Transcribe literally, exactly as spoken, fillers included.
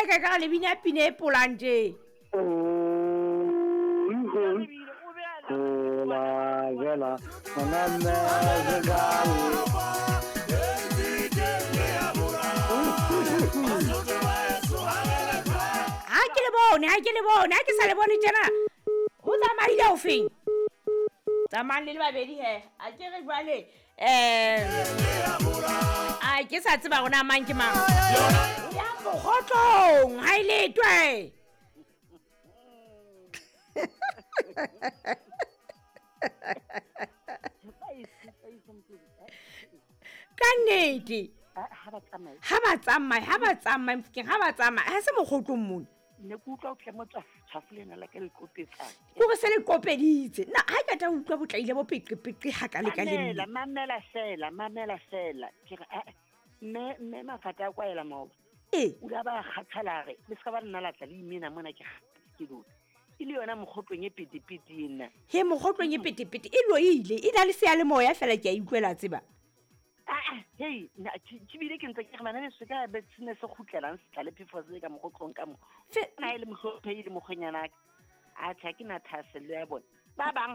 kae kae ka re le bina pina e polang tje. Ha ke le bone, ha ke le bone, ha ke sa le bone tjena. O tsamaile o feng? Tsamayang le le babedi he. A ke re jwale eh a ke sa tseba rona mang ke mang. Ya mokgotlong, ha e letwe. Ka nnete. Ha ba tsamaye. Ha ba tsamaye, ha ba tsamaye Mofokeng, ha ba tsamaye. Ha se mokgotlong mona. Ne ke utlwa o tle mo tshwafo lena la ka le kopetsang. Ke hore se le kopeditse. Na ha ke tla utlwa botlaile bo peqepeqe ha ka le ka le Mamela, mamela fela, mamela fela. Ke re eh mme mme Mafata a kwaela maoba. E. O la ba kgathala re, le ska ba nna la tla le imena mona ke ke lona. E le yona mokgotlong e petepete ena. He mokgotlong e petepete e loile, e na le seyalemoya fela ke a utlwela tseba. Ah, hey, na ke bile ke ntse ke re bana le se ka be se ne se kgutlelang se tla le phefo se ka mokgotlong ka mo. Fe Na e le mohlomphehi le mokgwenyana ka. Atjhe, ha ke na thahasello ya bona. Ba bang